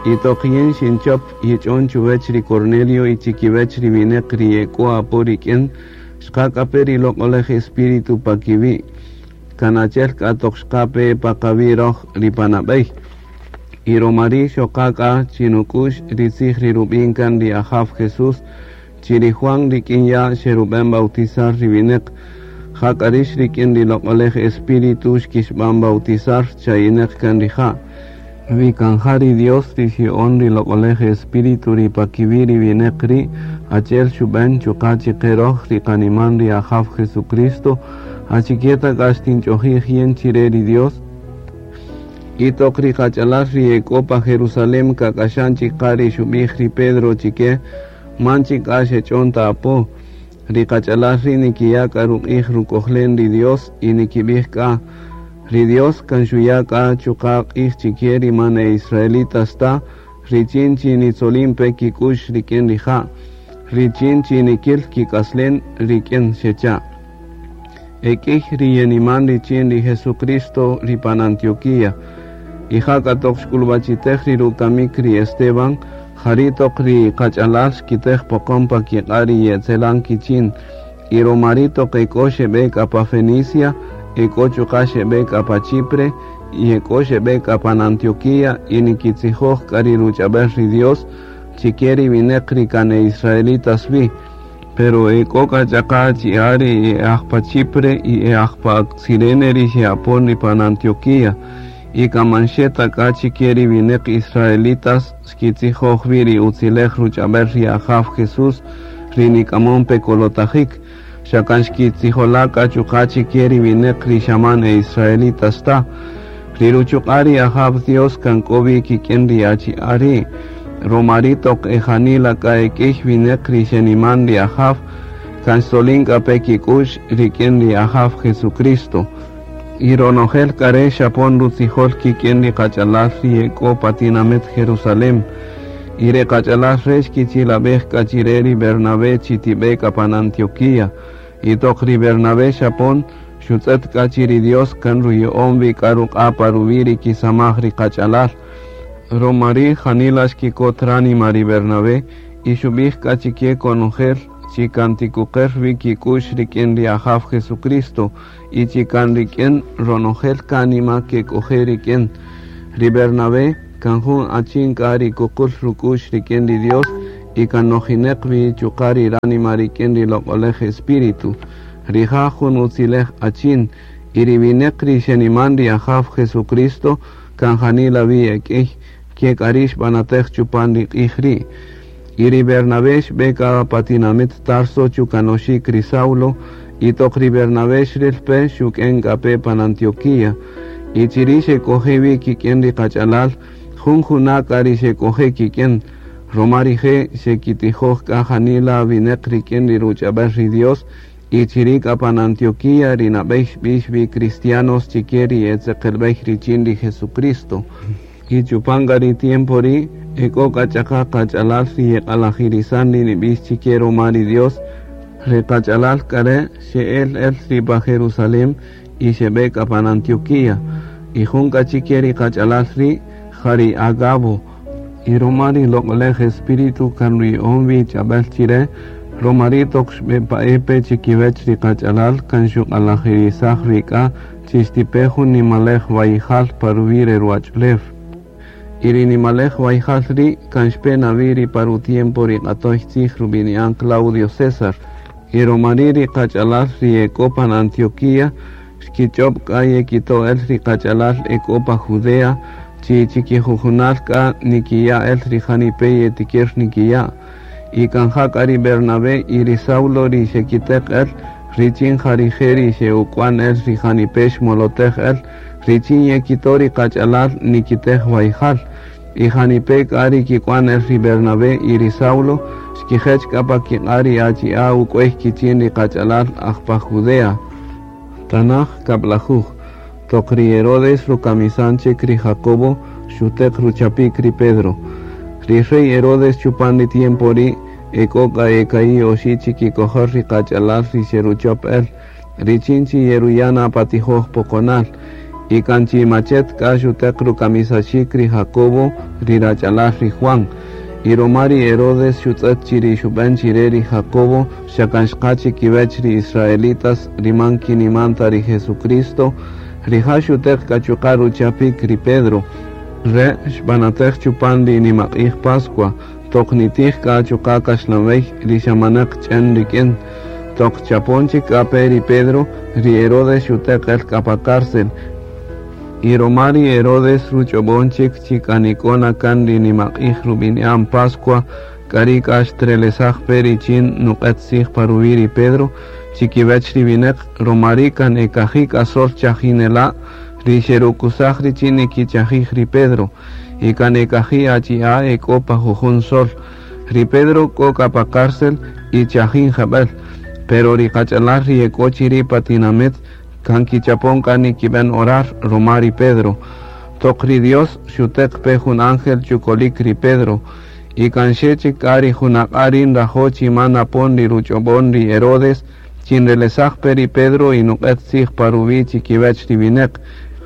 Y toq yin xinchop yich'on chuwech ri Cornelio y chikiwech ri wineq ri ye k'o apo rik'in, xqa k'a pe ri Loq'olej Espíritu pa kiwi', kan achi'el k'a toq xqa pe pa qawi' roj ri pa nab'ey. Y roma ri' xoqa k'a chinuk'u'x ri tzij ri rub'in kan ri Ajaw Jesús, chi ri Juan rik'in ya' xerub'en bautizar ri wineq, jak'a rix rik'in ri Loq'olej Espíritu xkixb'an bautizar, chayineq kan rija'. Wi kan ja ri Dios ri xya'on ri Loq'olej Espíritu ri pa kiwi' ri wineq ri', achi'el xub'en chuqa' chiqe roj ri qaniman ri Ajaw Jesucristo, achike ta k'a xtinch'ojij yin chire ri Dios? Y toq ri qach'alal ri e k'o pa Jerusalem kak'axan chik qa ri xub'ij ri Pedro chike, man chik k'a xech'on ta apo. Ri qach'alal ri' nikiya' k'a ruq'ij ruk'ojlen ri Dios y nikib'ij k'a, Ri Dios kan xuya' k'a chuqa' q'ij chike ri man e israelitas ta, richin chi nitzolin-pe kik'u'x rik'in rija', richin chi nikil kik'aslen rik'in, xecha'. E k'iy ri yeniman richin ri Jesucristo ri pan Antioquía. Y ja k'a toq xk'ulub'achitej ri rukamik ri Esteban, jari' toq ri qach'alal xkitej poqon pa kiq'a' ri ye'etzelan kichin. Y roma ri' toq ek'o xeb'e k'a pa Fenicia, ek'o chuqa' xeb'e k'a pa Chipre, y ek'o xeb'e k'a pan Antioquía, y nikitzijoj k'a ri ruch'ab'el ri Dios chike ri wineq ri kan e israelitas wi. Pero ek'o k'a ch'aqa' achi'a' ri e aj pa Chipre y e aj pa Cirene ri xe'apon ri pan Antioquía, y kan man xe ta k'a chike ri wineq israelitas xkitzijoj wi ri utzilej ruch'ab'el ri Ajaw Jesús ri nik'amon pe kolotajik, xa kan xkitzijola' k'a chuqa' chike ri wineq ri xa man e israelitas ta. Ri ruchuq'a' ri Ajaw Dios kan k'o wi kik'in ri achi'a' ri', roma ri' toq e janila k'a e k'iy wineq ri xeniman ri Ajaw, kan xtzolin k'a pe kik'u'x rik'in ri Ajaw Jesucristo. Y ronojel k'a re' xapon rutzijol kik'in ri qach'alal ri ye k'o pa tinamit Jerusalem. Y re qach'alal re' xkichilab'ej k'a chire ri Bernabé chi tib'e k'a pan Antioquía. Y toq ri Bernabé xapon, xutz'ët k'a chi ri Dios kan ruya'on wi k'a ruq'a' pa ruwi' ri kisamaj ri qach'alal. Roma ri' janila xkikot ránima ri Bernabé y xub'ij k'a chike konojel chi kan tikuqer wi kik'u'x rik'in ri Ajaw Jesucristo. Y chi kan rik'in ronojel kánima kek'oje' rik'in. Ri Bernabé kan jun achin k'a ri kuqul ruk'u'x rik'in ri Dios y kan nojineq wi chuqa' ri ránima rik'in ri Loq'olej Espíritu. Rija' jun utzilej achin, y ri wineq ri xeniman ri Ajaw Jesucristo kan janila wi e k'iy, ke k'a ri' xb'anatej chupan ri q'ij ri'. Y ri Bernabé xbe k'a pa tinamit Tarso chukanoxik ri Saulo, y toq ri Bernabé xril pe, xuk'en k'a pe pan Antioquía. Y chiri' xek'oje' wi kik'in ri qach'alal, jun juna' k'a ri xek'oje' kik'in, roma rije' xekitijoj k'a janila wineq rik'in ri ruch'ab'el ri Dios, y chiri' k'a pan Antioquía ri nab'ey xb'ix wi cristianos chike ri e tzeqelb'ey richin ri Jesucristo. Y chupan k'a ri tiempo ri' ek'o k'a ch'aqa qach'alal ri yeq'alajirisan ri nib'ix chike roma ri Dios, ri qach'alal k'a re' xe'el el ri pa Jerusalem y xeb'e k'a pan Antioquía. Y jun k'a chike ri qach'alal ri' ja ri Agabo. Y roma ri Loq'olej Espíritu kan ruya'on wi ch'ab'el chire, roma ri' toq xb'epa'e pe chikiwech ri qach'alal kan xuq'alajirisaj wi k'a chi xtipe jun nimalej wayjal pa ruwi' re ruwach'ulew. Y ri nimalej wayjal ri' kan xpe na wi ri pa rutiempo ri q'atoy tzij rub'ini'an Claudio César. Y roma ri' ri qach'alal ri e k'o pan Antioquía xkich'ob' k'a yekito' el ri qach'alal e k'o pa Judea, chi chikijujunal k'a nikiya' el ri janipe yetikir nikiya'. Y kan ja k'a ri Bernabé y ri Saulo ri xekiteq el, richin ja rije' ri xe'uk'wan el ri janipe xmolotej el, richin yekito' ri qach'alal nikitej wayjal. Y janipe k'a ri kik'wan el ri Bernabé y ri Saulo, xkijech k'a pa kiq'a' ri achi'a' uk'wey kichin ri qach'alal aj pa Judea. Tanaj kab'lajuj. Toq ri Herodes rukamisan chik ri Jacobo, xuteq ruchapik ri Pedro. Ri rey Herodes chupan ri tiempo ri' ek'o k'a eka'i' oxi' chikikojol ri qach'alal ri xeruchop el, richin chi yeruyana pa tijoj poqonal. Y kan chi machet k'a xuteq rukamisaxik ri Jacobo ri rach'alal ri Juan. Y roma ri Herodes xutz'ët chi ri xub'än chi re ri Jacobo xa kan xqa chikiwech ri israelitas ri man kiniman ta ri Jesucristo, rija' xuteq k'a chuqa' ruchapik ri Pedro. Re' xb'anatäj chupan ri nimaq'ij Pascua, toq nitij k'a chuqa' kaxlanwey ri xa manäq ch'en rik'in. Toq chapon chik k'a pe ri Pedro, ri Herodes xuteq el k'a pa cárcel. Y roma ri Herodes ruch'ob'on chik chi k'a nik'o na kan ri nimaq'ij rub'ini'an Pascua, k'a ri' k'a xtrelesaj pe richin nuq'et tzij pa ruwi' ri Pedro, chikiwech ri winäq, roma ri' kan e kaji' k'a sol chajinela' ri xerukusaj richin nikichajij ri Pedro, y kan e kaji' achi'a' e k'o pa jujun sol. Ri Pedro k'o k'a pa cárcel y chajin jeb'ël, pero ri qach'alal ri e k'o chiri' pa tinamit kan kichapon k'a nikib'än orar roma ri Pedro. Toq ri Dios xuteq pe jun ángel chukolik ri Pedro, y kan xe chik k'a ri junaq'a' ri nrajo' chi man napon ri ruch'ob'on ri Herodes, chi nrelesaj pe ri Pedro y nuq'et tzij pa ruwi' chikiwech ri winäq.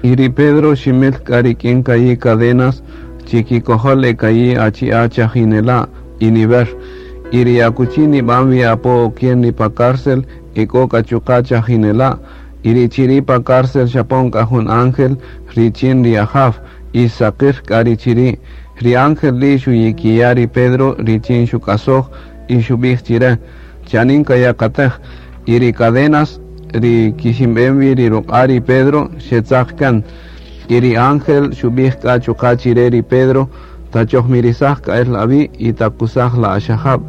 Y ri Pedro ximil k'a rik'in ka'i' cadenas chikikojol e ka'i' achi'a' chajinela' y niwer. Y ri akuchi nib'an wi apo okien ri pa cárcel e k'o k'a chuqa' chajinela'. Y ri chiri' pa cárcel xapon k'a jun ángel richin ri Ajaw y xsaqir k'a ri chiri'. Ri ángel ri' xuyikiya' ri Pedro richin xuk'asoj y xub'ij chire: Chanin kayakatej. Y ri cadenas ri kiximb'en wi ri ruq'a' ri Pedro xetzaq kan. Y ri ángel xub'ij k'a chuqa' chire ri Pedro: Tachojmirisaj k'a el awi' y takusaj la axajab'.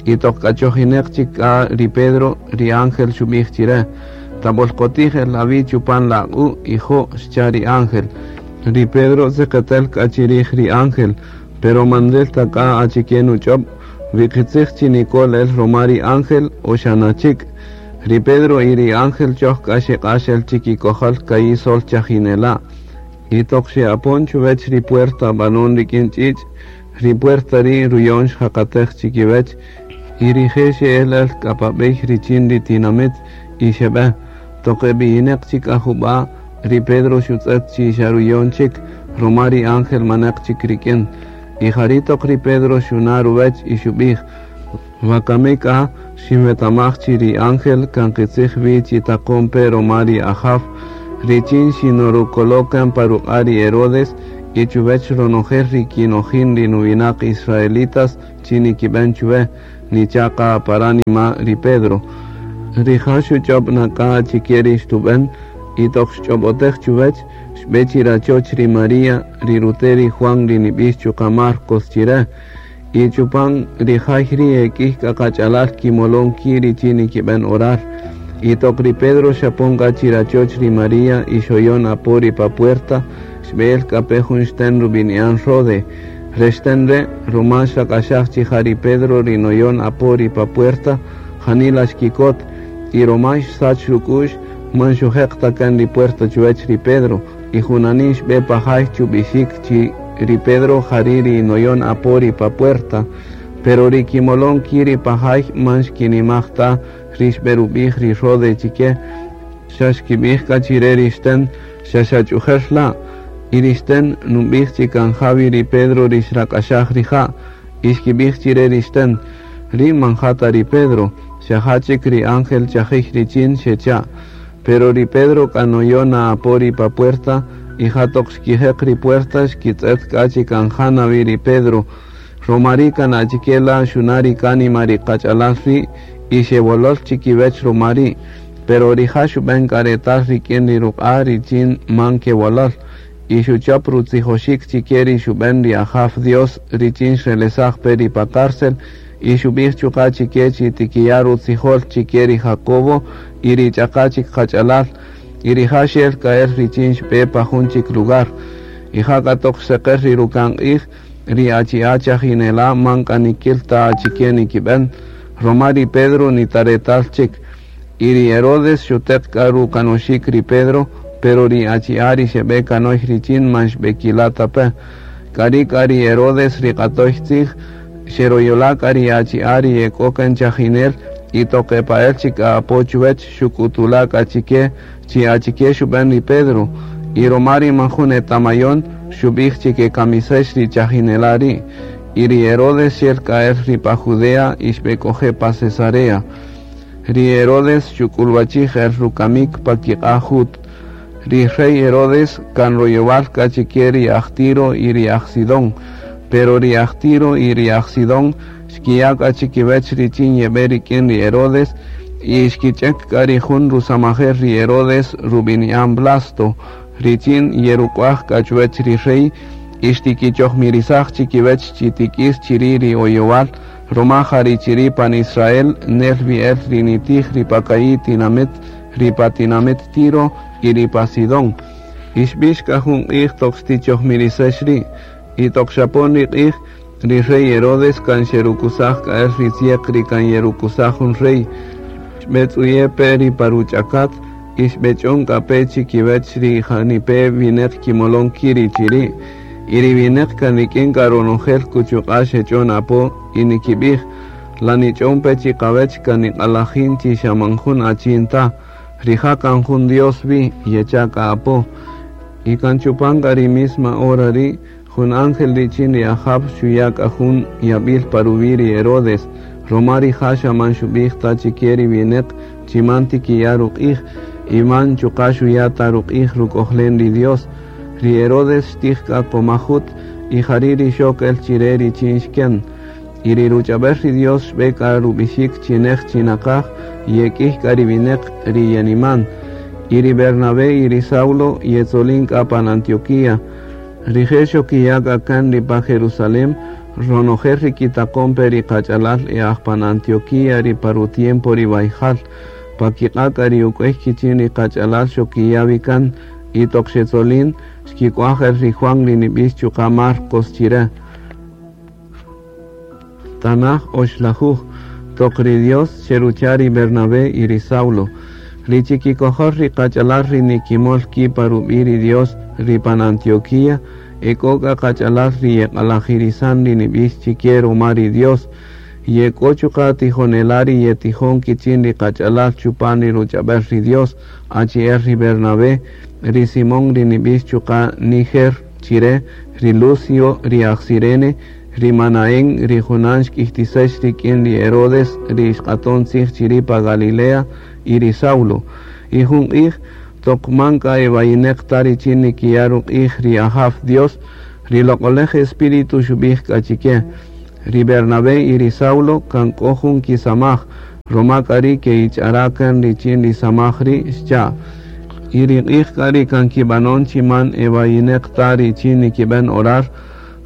Y toq k'achojinäq chik k'a ri Pedro, ri ángel xub'ij chire: Tab'olqotij el awi' chupan la aq'u' y jo', xcha' ri ángel. Ri Pedro tzeqetel k'a chirij ri ángel, pero man nril ta k'a achike nuch'ob', wi qitzij chi nikol el roma ri ángel o xa nachik'. Ri Pedro y ri ángel choj k'a xeq'ax el chikikojol ka'i' sol chajinela'. Y toq xe'apon chuwech ri puerta b'anon rik'in ch'ich', ri puerta ri' ruyon xjaqatej chikiwech, y rije' xe'el el k'a pa b'ey richin ri tinamit y xeb'e. Toq eb'iyinäq chik k'a jub'a', ri Pedro xutz'ët chi xa ruyon chik, roma ri ángel manäq chik rik'in. Y jari' toq ri Pedro xuna' ruwech y xub'ij: Wakami k'a xinwetamaj chi ri ángel kan qitzij wi chi taqon pe roma ri Ajaw, richin xinurukolo' kan pa ruq'a' ri Herodes y chuwech ronojel ri kinojin ri nuwinaq israelitas chi nikib'än chuwe, nicha' qa pa ránima ri Pedro. Rija' xuch'ob' na k'a achike ri xtub'än, y toq xch'ob'otej chuwech, xb'e chi rachoch ri María, ri rute' ri Juan ri nib'ix chuqa' Marcos chire. Y chupan ri jay ri' e k'ïy k'a qach'alal kimolon ki' richin nikib'än orar. Y toq ri Pedro xapon k'a chi rachoch ri María y xoyon apo ri pa puerta, xb'e'el k'a pe jun xten rub'ini'an Rode. Re xten re', ruma xrak'axaj chi ja ri Pedro ri noyon apo ri pa puerta, janila xkikot, y roma xsach ruk'u'x, man xujeq ta kan ri puerta chuwech ri Pedro, y junanin xb'e pa jay chub'ixik chi ri Pedro jari' ri noyon apo ri pa puerta, pero ri kimolon ki' ri pa jay man xkinimaj ta ri xb'erub'ij ri Rode chike, xa xkib'ij k'a chire ri xten xa xach'ujer la', y ri xten nub'ij chi kan jawi ri Pedro ri xrak'axaj rija', y xkib'ij chire ri xten: Ri' man ja ta ri Pedro, xa ja chik ri ángel chajij richin xecha'. Pero ri Pedro k'a noyona apo ri pa puerta, y ja toq xkijeq ri puerta xkitz'ët k'a chi kan ja na wi ri Pedro. Roma ri' kan achike la' xuna' ri kánima ri qach'alal ri' y xewolol chikiwech roma ri'. Pero rija' xub'än k'a retal rik'in ri ruq'a' richin man kewolol, y xuchop rutzijoxik chike ri xub'än ri Ajaw Dios richin xrelesaj pe ri pa cárcel, y xub'ij chuqa' chike chi tikiya' rutzijol chike ri Jacobo y ri ch'aqa' chik qach'alal, y rija' xel k'a el richin xb'e pa jun chik lugar. Y ja k'a toq xseqer ri ruka'n q'ij, ri achi'a' chajinela' man k'a nikil ta achike nikib'än, roma ri Pedro ni ta retal chik. Y ri Herodes xuteq k'a rukanoxik ri Pedro, pero ri achi'a' ri xeb'e kanoy richin man xb'ekila' ta pe. K'ari' k'a ri Herodes ri q'atoy tzij, xeroyola' k'a ri achi'a' ri e k'o kan chajinel, y toq epa'el chik k'a apo chuwech xuk'utula' k'a chike chi achike xub'än ri Pedro. Y roma ri man jun etamayon xub'ij chi kekamisex ri chajinela' ri'. Y ri Herodes xel k'a el ri pa Judea y xb'ek'oje' pa Cesarea. Ri Herodes xuk'ulwachij el rukamik pa kiq'a' Jud. Ri rey Herodes kan royowal k'a chike ri aj Tiro y ri aj Sidón. Pero ri aj Tiro y ri aj Sidón xkiya' k'a chikiwech richin yeb'e rik'in ri Herodes y xkich'ek k'a ri jun rusamajel ri Herodes rub'ini'an Blasto richin yeruk'waj k'a chuwech ri rey y xtikichojmirisaj chikiwech chi tik'is chiri' ri oyowal roma ja ri chiri' pan Israel nel wi el ri nitij ri pa ka'i' tinamit, ri pa tinamit Tiro y ri pa Sidón. Y xb'ix k'a jun q'ij toq xtichojmirisex ri'. Y toq xapon ri q'ij, ri rey Herodes kan xerukusaj k'a el ri tzieq ri kan yerukusaj jun rey. Xb'etz'uye' pe ri pa ruch'akat y xb'ech'on k'a pe chikiwech ri janipe' wineq kimolon ki' ri chiri'. Y ri wineq kan rik'in k'a ronojel kuchuq'a' xech'on apo y nikib'ij, La nich'on pe chiqawech kan niq'alajin chi xa man jun achin ta, rija' kan jun Dios wi, yecha' k'a apo. Y kan chupan k'a ri misma hora ri', jun ángel richin ri Ajaw xuya' k'a jun yab'il pa ruwi' ri Herodes, roma rija' xa man xub'ij ta chike ri wineq chi man tikiya' ruq'ij, y man chuqa' xuya' ta ruq'ij ruk'ojlen ri Dios. Ri Herodes xtij k'a koma jut, y jari' ri xok el chire richin xken. Y ri ruch'ab'el ri Dios xb'e k'a rub'ixik chi nej chi naqaj, y e k'iy k'a ri wineq ri yeniman. Y ri Bernabé y ri Saulo yetzolin k'a pan Antioquía. Rije' xokiya' k'a kan ri pa Jerusalén, ronojel ri kitaqon pe ri qach'alal e aj pan Antioquía ri pa ru-tiempo ri wayjal. Pa kiq'a' k'a ri uk'uey kichin ri qach'alal xokiya' wi kan, y toq xetzolin, xkik'uaj el ri Juan ri nib'ix chuqa' Marcos chire. Tanaj oxlajuj, toq ri Dios xerucha' ri Bernabé y ri Saulo, ri chikikojol ri qach'alal ri nikimol ki' pa rub'i' ri Dios ri pan Antioquía, e k'o k'a qach'alal ri yeq'alajirisan ri nib'ix chike ruma ri Dios, ye k'o chuqa' tijonela' ri yetijon kichin ri qach'alal chupan ri ruch'ab'el ri Dios, achi'el ri Bernabé, ri Simón ri nib'ix chuqa' Niger chire, ri Lucio ri aj Cirene, ri Manaén ri junan xk'iytisex rik'in ri Herodes ri xq'aton tzij chiri' pa Galilea, y ri Saulo. Y jun q'ij, toq man k'a e wayineq ta richin nikiya' ruq'ij ri Ajaw Dios, ri Loq'olej Espíritu xub'ij k'a chike, Ri Bernabé y ri Saulo kan k'o jun kisamaj, roma k'a ri' ke'ich'ara' kan richin ri samaj ri', xcha'. Y ri q'ij k'a ri kan kib'anon chi man e wayineq ta richin nikib'en orar,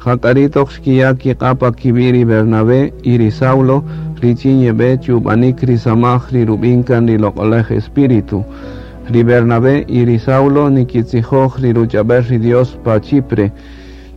jak'a ri' toq xkiya' kiq'a' pa kiwi' ri Bernabé y ri Saulo richin yeb'e chub'anik ri samaj ri rub'in kan ri Loq'olej Espíritu. Ri Bernabé y ri Saulo nikitzijoj ri ruch'ab'el ri Dios pa Chipre.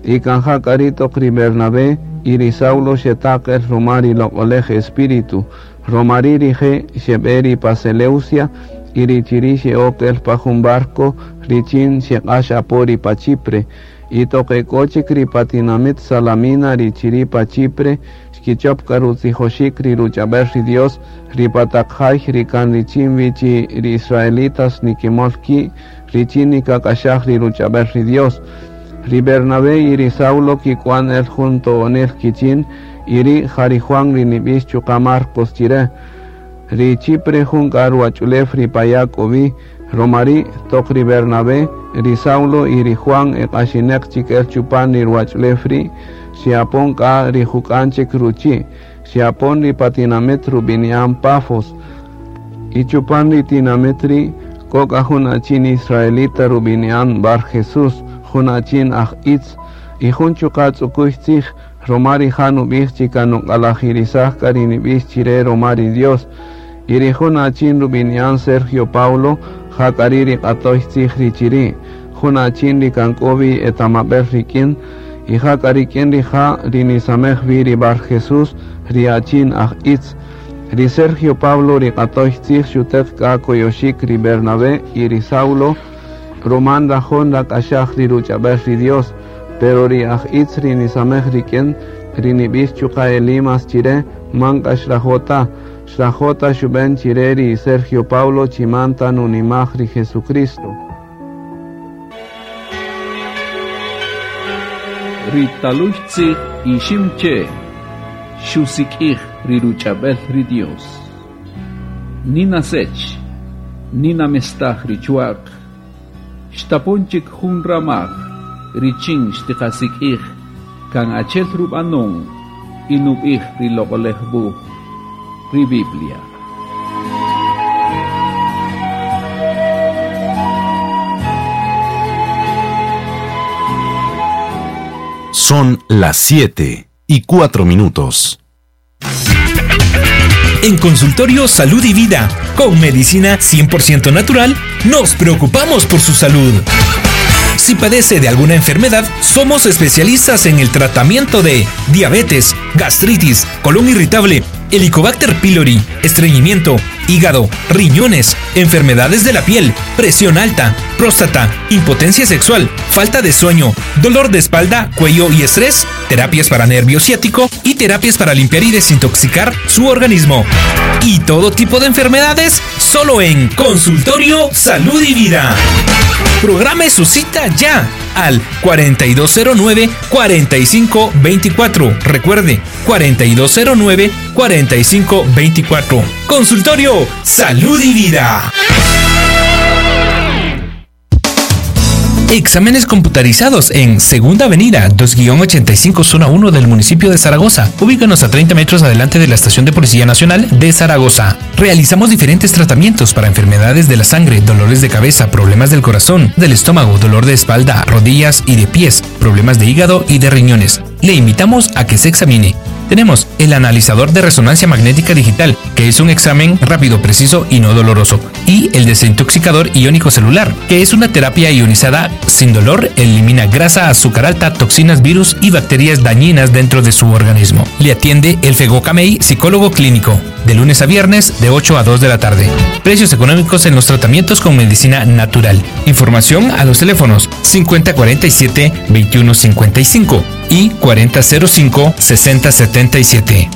Y kan ja k'a ri' toq ri Bernabé y ri Saulo xetaq el roma ri Loq'olej Espíritu. Roma ri' rije' xeb'e ri pa Seleucia y ri chiri' xe'ok el pa jun barco richin xeq'ax apo ri pa Chipre. Y toq e k'o chik ri pa tinamit Salamina ri chiri' pa Chipre, xkichop k'a rutzijoxik ri ruch'ab'el ri Dios ri pa taq jay ri kan richin wi chi ri israelitas nikimol ki' richin nikak'axaj ri ruch'ab'el ri Dios. Ri Bernabé y ri Saulo kik'wan el jun to'onel kichin, y ri' ja ri Juan ri nib'ix chuqa' Marcos chire. Ri Chipre jun k'a ruwach'ulew ri pa ya' k'o wi, roma ri' toq ri Bernabé, ri Saulo y ri Juan e q'axineq chik el chupan ri ruwach'ulew ri', xe'apon k'a ri juk'an chik ruchi', xe'apon ri pa tinamit rub'ini'an Pafos. Y chupan ri tinamit ri' k'o k'a jun achin israelita rub'ini'an Bar Jesús, jun achin aj itz y jun chuqa' tz'ukuy tzij, roma rija' nub'ij chi kan nuq'alajirisaj k'a ri nib'ix chire roma ri Dios. Y ri jun achin rub'ini'an Sergio Paulo, ja k'a ri' ri q'atoy tzij ri chiri', jun achin ri kan k'o wi etamab'el rik'in, y ja k'a rik'in rija' ri nisamej wi ri Bar Jesús, ri achin aj itz. Ri Sergio Pablo ri q'atoy tzij xuteq k'a koyoxik ri Bernabé y ri Saulo, roma nrajo' nrak'axaj ri ruch'ab'el ri Dios, pero ri aj itz ri nisamej rik'in, ri nib'ix chuqa' Elimas chire, man k'a xrajo' ta. Xrajo' ta xub'en chire ri Sergio Paulo chi man ta nunimaj ri Jesucristo. Ri talux tzij Iximche xusik'ij ri ruch'ab'el ri Dios. Nina sech, nina mestaj ri chuaq, xtapon chik jun ramaj richin xtiqasik'ij kan achel rub'anon y nub'ij ri loq'olej wuj, ri Biblia. Son las 7:04. En Consultorio Salud y Vida, con medicina 100% natural, nos preocupamos por su salud. Si padece de alguna enfermedad, somos especialistas en el tratamiento de diabetes, gastritis, colon irritable, Helicobacter pylori, estreñimiento, hígado, riñones, enfermedades de la piel, presión alta, próstata, impotencia sexual, falta de sueño, dolor de espalda, cuello y estrés, terapias para nervio ciático y terapias para limpiar y desintoxicar su organismo. Y todo tipo de enfermedades solo en Consultorio Salud y Vida. Programe su cita ya al 4209-4524. Recuerde, 4209-4524. Consultorio Salud y Vida. Exámenes computarizados en Segunda Avenida 2-85 Zona 1 del municipio de Zaragoza. Ubícanos a 30 metros adelante de la Estación de Policía Nacional de Zaragoza. Realizamos diferentes tratamientos para enfermedades de la sangre, dolores de cabeza, problemas del corazón, del estómago, dolor de espalda, rodillas y de pies, problemas de hígado y de riñones. Le invitamos a que se examine. Tenemos el analizador de resonancia magnética digital, que es un examen rápido, preciso y no doloroso, y el desintoxicador iónico celular, que es una terapia ionizada sin dolor, elimina grasa, azúcar alta, toxinas, virus y bacterias dañinas dentro de su organismo. Le atiende el Fegocamey, psicólogo clínico, de lunes a viernes de 8 a 2 de la tarde. Precios económicos en los tratamientos con medicina natural. Información a los teléfonos 5047 2155 y 4005 6077.